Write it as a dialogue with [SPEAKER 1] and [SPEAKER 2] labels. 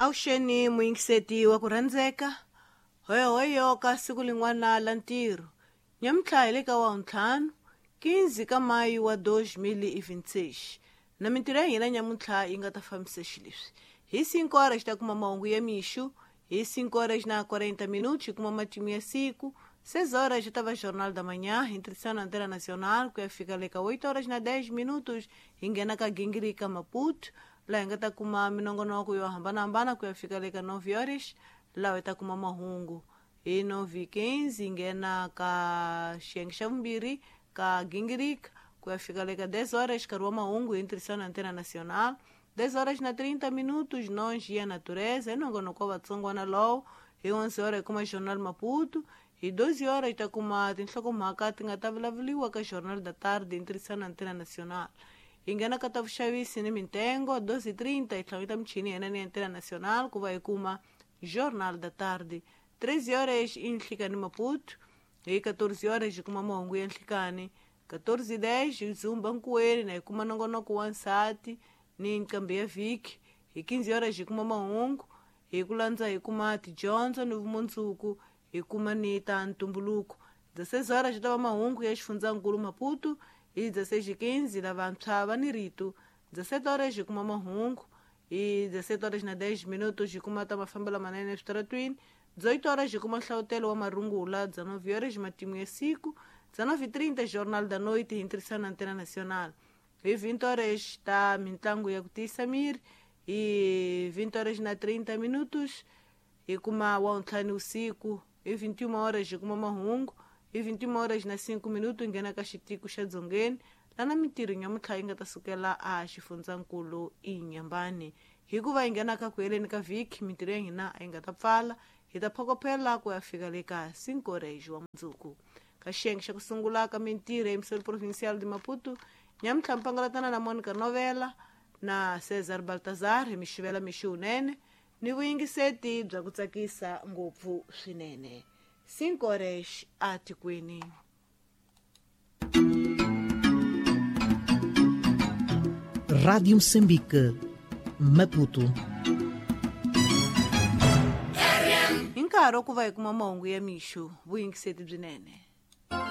[SPEAKER 1] Avuxeni muyingiseti wa ku rhandzeka, hoyohoyo ka siku lin'wana la ntirho. Nyamuntlha hi le ka wavuntlhanu, 15 ka mayu wa 2026. Na mintirho ya hina nyamuntlha yi nga ta fambisa xileswi. Hi 5 horas hi ta kuma mahungu ya mixo, hi 5 horas na 40 minutos hi kuma matimu ya siku, 6 horas hi ta va Jornal da Manhã, hi ntirhisano na Antena Nacional, ku ya fika le ka 8 horas na 10 minutos hi nghena ka Gingirika Maputo, laha hi nga ta kuma minongonoko yo hambanahambana ku ya fika le ka 9 horas, laha hi ta kuma mahungu. Hi 9:15 hi nghena ka xiyenge xa vumbirhi ka Gingirika ku ya fika le ka 10 horas, nkarhi wa mahungu hi ntirhisano na Antena Nacional. 10 horas na 30 minutos, nós e a natureza, hi nongonoko wa vatsongwana lowo. Hi 11 horas hi kuma Jornal Maputo. Hi 12 horas hi ta kuma tinhlokomhaka ti nga ta vulavuriwa ka Jornal da Tarde hi ntirhisano na Antena Nacional. Hi nghena ka ta vuxavisi ni mintengo 12:30 hi hlanganyeta michini ya hina ni Antena Nacional ku va hi kuma Jornal da Tarde. 13 horas i nhlikani Maputo. Hi 14 horas hi kuma mahungu ya nhlikani. 14:10 hi dzumba nkuweni na hi kuma nongonoko wa nsati ni nqambi ya vhiki. Hi 15 horas hi kuma mahungu, hi ku landza hi kuma tidyondzo ni vumundzuku, hi kuma ni ta ntumbuluko. 16 horas hi ta va mahungu ya xifundzankulu Maputo. Hi 16:15 lavantshwa va ni rito. 17 horas hi kuma mahungu. Hi 17 horas na 10 minutos hi kuma ta mafambelo manene eswitaratwini. 18 horas hi kuma nhlavutelo wa marungula. 19 horas matimu ya siku. 19:30 Jornal da Noite hi ntirhisano na Antena Nacional. Hi 20 horas ta mintlangu ya ku tiyisa miri. Hi 20 horas na 30 minutos hi kuma wavuntlhanu usiku. Hi 21 horas hi kuma mahungu. Hi 21 horas na 5 minutos hi nghena ka xitiko xa dzongeni, lana mintirho nyamuntlha yi nga ta sukela a xifundzankulu Inhambane. Hikuva hi nghena ka ku heleni ka vhiki, mintirho ya hina a yi nga ta pfala, hi ta phokophela ku ya fika le ka 5 horas wa mundzuku. Ka xiyenge xa ku sungula ka mintirho ya Emissora Provincial de Maputo, nyamuntlha mpangalatana na Monica Novela na Cesar Baltazar hi mixivela mixo wunene ni vuyingiseti bya ku tsakisa ngopfu swinene. 5 horas a tikweni.
[SPEAKER 2] Rádio Moçambique, Maputo.
[SPEAKER 1] Hi nkarhi wa ku va hi kuma mahungu ya mixo, vuyingiseti byinene.